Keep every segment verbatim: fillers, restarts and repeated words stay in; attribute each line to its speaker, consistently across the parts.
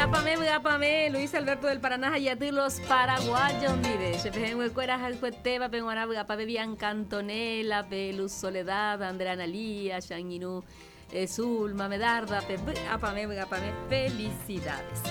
Speaker 1: Vy'apavẽ, vy'apavẽ, Luis Alberto del Paraná ha los paraguayos ndive. Che pehẽnguekuéra ahayhuetévape g̃uarã vy'apavẽ Bianca Antonella, pe Luz Soledad, Andrea Analía, che angirũ, eh, Zulma Medarda, pe vy'apavẽ, vy'apavẽ, felicidades.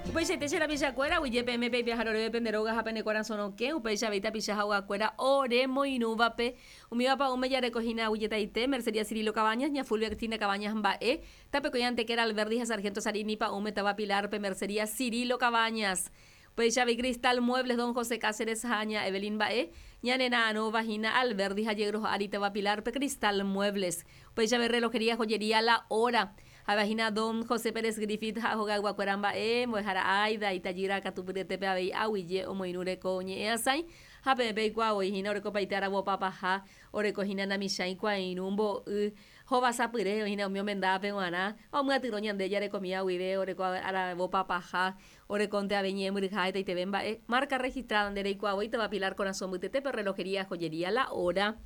Speaker 1: Upeichaite che rapichakuéra, aguyje peẽme peipe'aha oréve pende róga ha pene korasõ rokẽ, upéicha avei tapicha ha ogakuéra oremoirũvape. Umíva pa'ũme jarekohína aguyjetaite, Mercería Cirilo Cabañas, ña Fulvia Cristina Cabañas mba'e, tapekõi Antequera Alberdi ha Sargento Sarini pa'ũme táva Pilar-pe Mercería Cirilo Cabañas. Upéicha avei Cristal Muebles Don José Cáceres ha ña Evelyn mba'e, ñane ra'arõvahína Alberdi ha Yegros ári táva Pilar-pe Cristal Muebles. Upéicha avei Relojería Joyería La Hora. Ha'evahína Don José Pérez Griffith ha hogayguakuéra mba'e, mbo'ehára Aida, itajýra katupyryetépe avei aguyje omoirũ reko ñe'ẽasãi ha peẽ peikuaavoihína orekopaite aravopapaha, orekohína namichãi kuairũ mbo'y hovasapyre oĩhína umi omendávape g̃uarã ha omyatyrõ ñande jarekomíva guive oreko aravopapaha, orekonte avei ñe'ẽmbyryha hetaiteve mba'e marca registrada nde reikuaavoi táva Pilar Korasõ mbytetépe Relojería Joyería La Hora.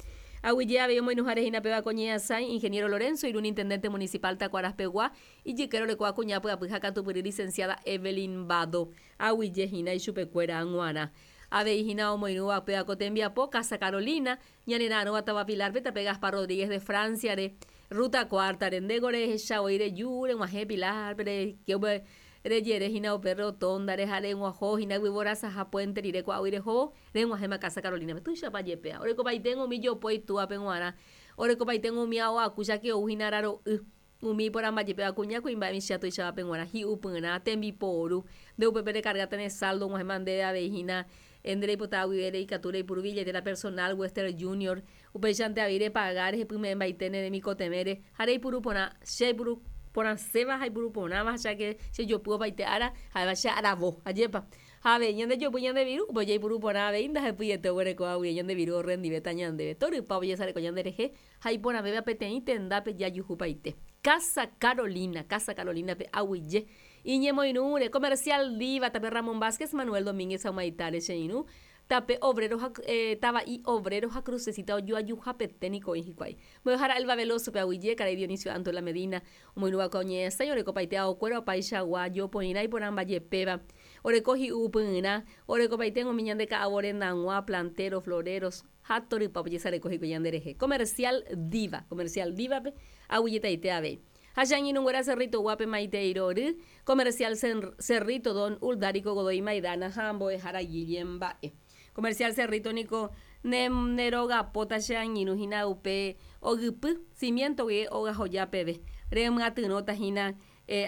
Speaker 1: Aguyje avei omoirũháre hína péva ko ñe'ẽasãi Ingeniero Lorenzo irún Intendente Municipal Takuaraspegua ijykére orekóva kuña pyapy ha katupyry Licenciada Evelyn Bado. Aguyje hína ichupekuéra g̃uarã. Avei hína omoirũva péva ko tembiapo Casa Carolina, ñane ra'arõva táva Pilar-pe tape Gaspar Rodríguez de Francia-re, Ruta Cuarta-re. Ndéko rehecha voi reju reg̃uahẽ Pilar-pe reike upe rejere hína upe rotonda-re ha reg̃uaho hína yvyvorasaha puente rire ko'águi rehóvo reg̃uahẽma Casa Carolina-pe. Tuichapa jepéva. Orekopaitég̃o umi jopói túvape g̃uarã. Orekopaitég̃o umi ao aku cháke ou hína araro'y. Umi iporãmba jepéva kuña kuimba'e michĩa tuichávape g̃uarã hi'upyrã, tembiporu. Nde upépe rekargáta ne saldo og̃uahẽma ndéve avei hína nde reipota guive reikatu reipuru billetera personal Western Junior. Upéichante avei repaga rehepyme'ẽmbaite ne remikotevẽre ha reipuru porã che aipuru porãséva ha aipuru porãva cháke chejopy opaite ára ha'éva che aravo. Ajépa. Ha avei ñande jopy ñande viru, upe jaipuru porã avei ndahepyiete oguerekóva guive ñande viru orrendivéta ñandéve. Torypa ojesareko ñanderehe ha iporãvéva peteĩ tendápe jajuhupaite. Casa Carolina, Casa Carolina-pe aguyje iñemoirũre, Comercial Diva, tape Ramón Vázquez, Manuel Domínguez ha Humaitá-re che irũ, tape Obrero ha tava'i Obrero ha Crucecita ojoajuhapete niko oĩ hikuái. Mbo'ehára Elba Veloso-pe aguyje, karai Dionisio Antola Medina, omoirũva'ekue oñe'ẽsãi orekopaite aokuéra opaichagua jopoirã iporãmbajepéva. Oreko hi'upyrã, orekopaite umi ñande ka'avo rendag̃ua, planteros, floreros, ha torypa ojesareko hikuái ñanderehe. Comercial Diva, Comercial Diva-pe aguyjetaite avei. Ha che angirũnguéra Cerrito Guape Maitei Rory, Comercial Cerrito Don Uldarico Godoy Maidana ha mbo'ehára Guillem mba'e. Comercial Cerrito niko ne nerogapóta che angirũ hína upe ogypy, cimiento guive ogahoja peve. Remyatyrõta hína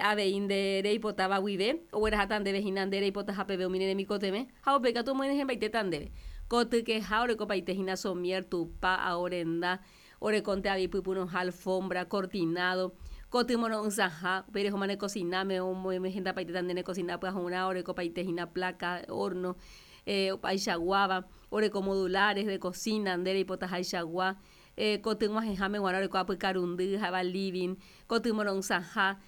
Speaker 1: avei nde reipotáva guive, ogueraháta ndéve hína nde reipotaha peve umi ne remikotevẽ ha upéi katu omoenyhẽmbaitéta ndéve. Kotykeha orekopaite hína somier, tupa, ao renda, orekonte avei pypyrũha, alfombra, cortinado, koty moro'ysãha, upéi rehóma ne kosináme omohendapaitéta nde ne kosina pyahurã, orekopaite hína placa, horno, opaichaguáva, oreko modulares de cocina nde reipotahaichagua, koty g̃uahẽháme g̃uarã oreko apykarundy ha'éva living, koty moro'ysãha,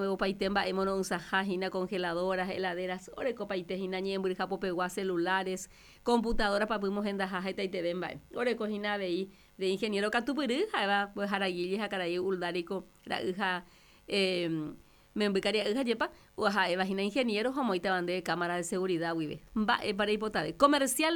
Speaker 1: opaite mba'e moro'ysãha hína congeladoras, heladeras, orekopaite hína ñe'ẽmbyryha popegua, celulares, computadora papy mohendaha hetaiteve mba'e. Oreko hína avei de ingeniero katupyry ha'éva mbo'ehára Guille ha karai Uldarico ra'y ha memby karia'y hajépa ha'éva hína ingeniero ha omoĩtava nde cámara de seguridad guive. Mba'épa reipotave. Comercial.